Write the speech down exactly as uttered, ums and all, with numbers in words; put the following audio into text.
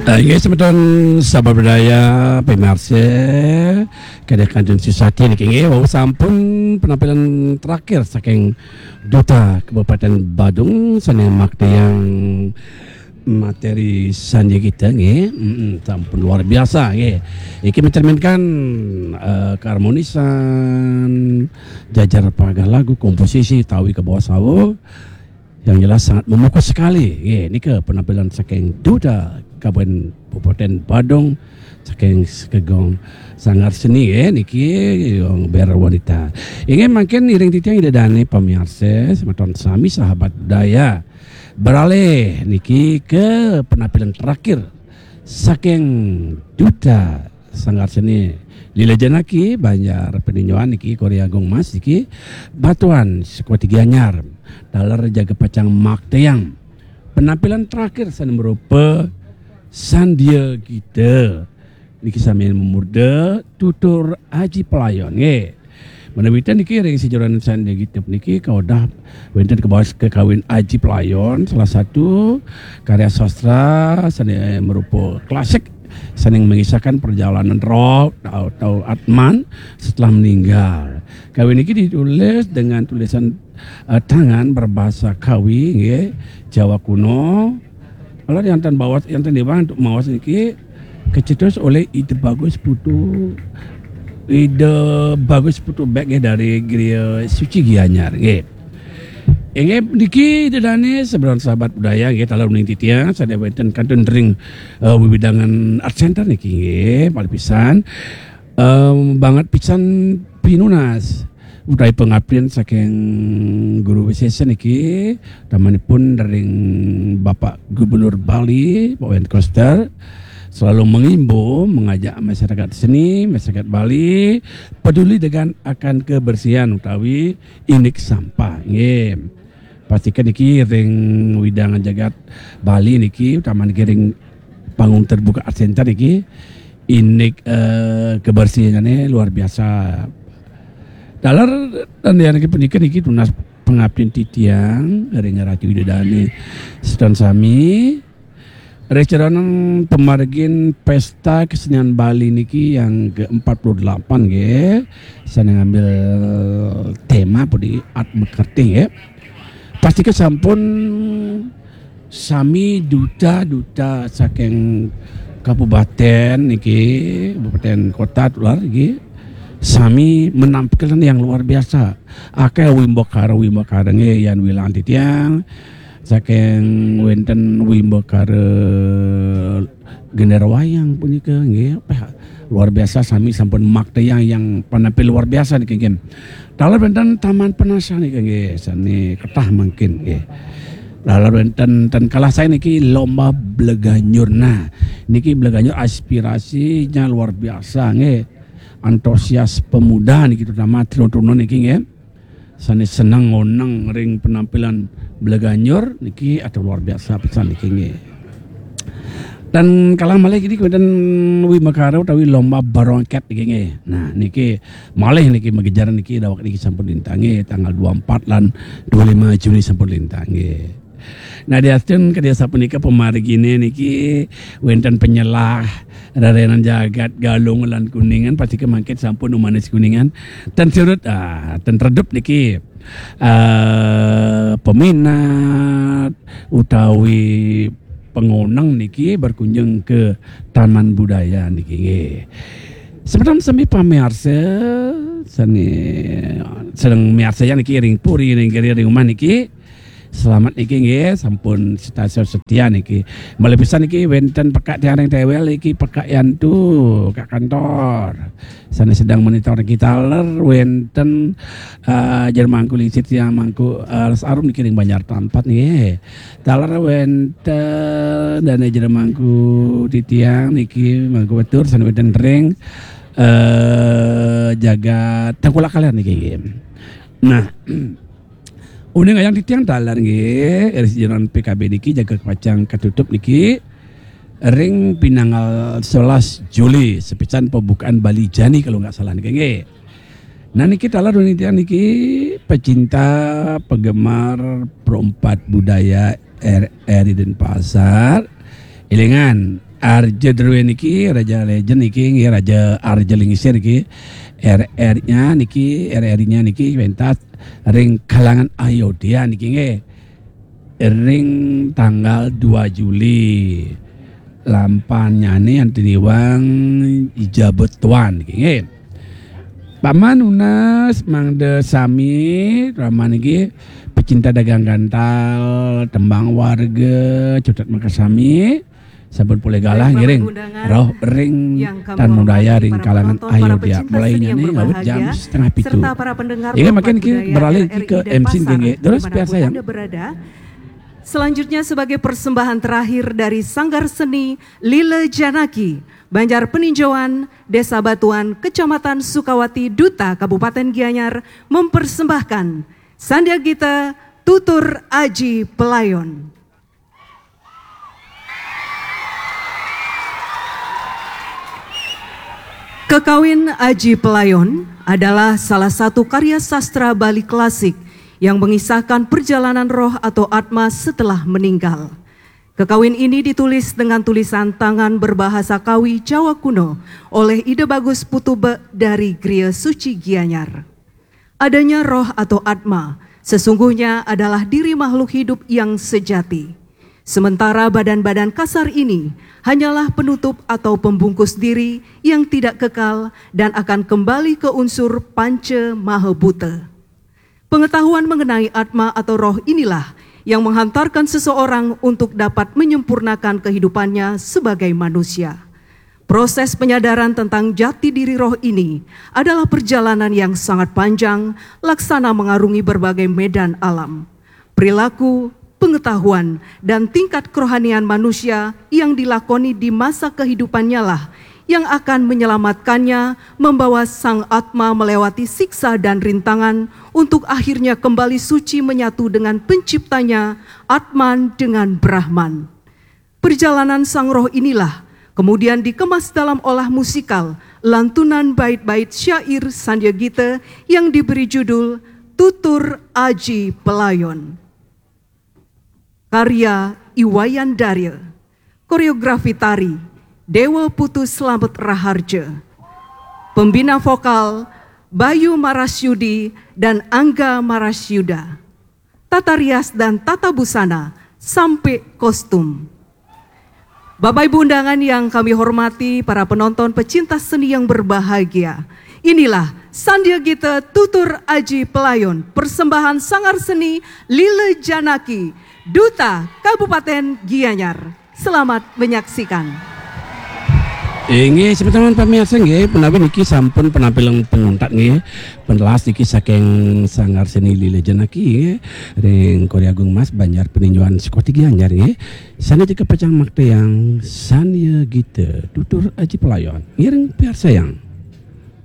Inggih semeton sahabat budaya, pemirsa, kada kantun susah niki inggih, wau sampun penampilan terakhir saking Duta Kabupaten Badung sane maktiang materi sandya kita nggih. Mm-mm, sampun luar biasa nggih. Iki mencerminkan eh, keharmonisan, jajar pagah lagu, komposisi, tawi ke bawah sawo. Yang jelas sangat memukau sekali. Nggih, nika penampilan saking Duta Kabupaten Badung, saking sekegong sanggar seni nggih, niki Ber Wanita. Inggih mangkin iring titiang ida dane pamiarsa, semeton sami sahabat budaya. Beralih niki ke penampilan terakhir saking Duta Sanggar Seni Lila Janaki, Banjar Peninjoan niki, Korea Agung Mas niki, Batuan Sekuati Gianyar, taler jaga pacang maktiang penampilan terakhir sane merupa Sandya Gita. Niki sami memurda tutur Aji Pelayon nggih. Menawi ten niki ring sejeroning Sandya Gita niki kaodah wenten kebawah kekawin Aji Pelayon, salah satu karya sastra sane merupa klasik sane mengisahkan perjalanan roh atau atman setelah meninggal. Kawin niki ditulis dengan tulisan eh, tangan berbahasa Kawi nggih, Jawa kuno. Kalau yang tan bawas, yang tan dewang untuk mawas niki kecetus oleh Ida Bagus Putu, Ida Bagus Putu Bek nggih, dari Griya Suci Gianyar nggih. Inggih niki ida dane semeton sahabat budaya nggih, taler uning titiang sane wenten kantun ring eh, wiwidangan Art Center niki nggih, malih pisan em, banget pisan pinunas utawi pengabdian saking Guru Wisesa niki, utamanipun ring Bapak Gubernur Bali, Pak Wayan Koster, selalu mengimbau, mengajak masyarakat seni, masyarakat Bali peduli dengan akan kebersihan utawi indik sampah. Nggih. Pastikan niki ring widangan jagat Bali niki, utama niki ring panggung terbuka Art Center niki, indik eh, kebersihane luar biasa. Taler tandayang niki punika niki tunas pengabdian titiang ring Ratu Ida Dane semeton sami. Ring sejeroning pamargin Pesta Kesenian Bali niki yang ke empat puluh delapan nggih, sane ngambil tema pun di Art Mekerting nggih. Pastika sampun sami duta-duta saking kabupaten niki, kabupaten kota tular niki, sami menampilkan yang luar biasa. Akeh wimbakara-wimbakara nggih, yan wilang titiang saking wenten wimbakara Gender Wayang punika nggih, peh, luar biasa, sami sampun maktiang yang penampil luar biasa niki nggih. Taler wenten Taman Penasa niki nggih, sane ketah mangkin nggih. Taler wenten ten kalah sae niki lomba bleganyur. Nah, niki bleganyur aspirasinya luar biasa nggih. Antusias pemuda niki, terutama tuna-tuna niki nggih. Sane seneng ngoneng ring penampilan bleganyur niki, aduh, luar biasa pisan niki nggih. Dan kalah malih niki wenten wimbakara utawi lomba barongket niki nggih. Nah, niki malih niki magejaran niki, daweg niki sampun lintang nggih, tanggal dua empat lan dua lima Juni sampun lintang nggih. Nah, diastun kadi sapunika pamargine niki wenten penyelah rerenan jagat Galung lan Kuningan, pastika mangkin sampun umanis Kuningan. Ten surut, ah, ten redup niki eh, peminat utawi pengoneng niki berkunjung ke Taman Budaya niki nggih. Semeton sami pamiarsa sane sedeng miarsayang niki ring puri, ring kiri, ring umah niki, selamat niki nggih, sampun stasiun setia niki. Malih pisan niki wenten pekak tiang ring tewel niki, pekak Yantu, pekak kantor. Sane sedang monitor niki. Taler wenten eh, Jero Mangku Lingsir, tiang Mangku eh, Les Arum niki ring Banjar Tampat nggih. Taler wenten dane Jero Mangku titiang niki, Mangku Wetur, sane wenten ring eh, jagat Tengkulak Kaler niki nggih. Nah, uning ayang titiang taler nggih, ring sejeroning P K B niki jaga pacang katutup niki ring pinanggal sebelas Juli, sepisan pembukaan Bali Jani kalau nggak salah niki nggih. Nah, niki taler uning titiang niki pecinta, penggemar, perompak budaya R R I Denpasar. Elingan, Arja Druwe niki, Raja Legend niki, nggih, Raja Arja Lingsir niki. R R-nya niki, R R-nya niki pentas ring kalangan Ayodhya niki, nggih. Ring tanggal dua Juli. Lampannyane anti niwang ijabut tuan niki, nggih. Paman nunas mangda sami, Raman niki pecinta dagang gantal, tembang warga, cutet makasami, sampun polih galah ngiring rauh ring tan budaya ring kalangan Ayodhya. Mulainya nih ngawit jam setengah pitu. Inggih, mangkin niki beralih ke M C nggih, nggih. Terus biasa ya. Selanjutnya, sebagai persembahan terakhir dari Sanggar Seni Lila Janaki, Banjar Peninjauan, Desa Batuan, Kecamatan Sukawati, Duta, Kabupaten Gianyar, mempersembahkan Sandia Gita Tutur Aji Pelayon. Kekawin Aji Pelayon adalah salah satu karya sastra Bali klasik yang mengisahkan perjalanan roh atau atma setelah meninggal. Kekawin ini ditulis dengan tulisan tangan berbahasa Kawi Jawa kuno oleh Ida Bagus Putu Bek dari Griya Suci Gianyar. Adanya roh atau atma sesungguhnya adalah diri makhluk hidup yang sejati. Sementara badan-badan kasar ini hanyalah penutup atau pembungkus diri yang tidak kekal dan akan kembali ke unsur panca maha buta. Pengetahuan mengenai atma atau roh inilah yang menghantarkan seseorang untuk dapat menyempurnakan kehidupannya sebagai manusia. Proses penyadaran tentang jati diri roh ini adalah perjalanan yang sangat panjang, laksana mengarungi berbagai medan alam. Perilaku, pengetahuan, dan tingkat kerohanian manusia yang dilakoni di masa kehidupannya lah yang akan menyelamatkannya, membawa sang atma melewati siksa dan rintangan untuk akhirnya kembali suci menyatu dengan penciptanya, Atman dengan Brahman. Perjalanan sang roh inilah kemudian dikemas dalam olah musikal, lantunan bait-bait syair Sandia Gita yang diberi judul Tutur Aji Pelayon. Karya I Wayan Darya. Koreografi tari, Dewa Putu Slamet Raharja. Pembina vokal, Bayu Marasyudi dan Angga Marasyuda. Tata rias dan tata busana sampai kostum. Bapak Ibu undangan yang kami hormati, para penonton pecinta seni yang berbahagia, inilah Sandia Gita Tutur Aji Pelayon, persembahan Sanggar Seni Lila Janaki, Duta Kabupaten Gianyar. Selamat menyaksikan. Inggih, semeton pamiarsa nggih, punapi niki sampun penampilan penuntat nggih. Penelas niki saking Sanggar Seni Lila Janaki nggih, ring Korea Agung Mas, Banjar Peninjauan, Sukawati Gianyar nggih. Sane teka pacang makta yang Sandia Gita Tutur Aji Pelayon. Ngiring piarsayang.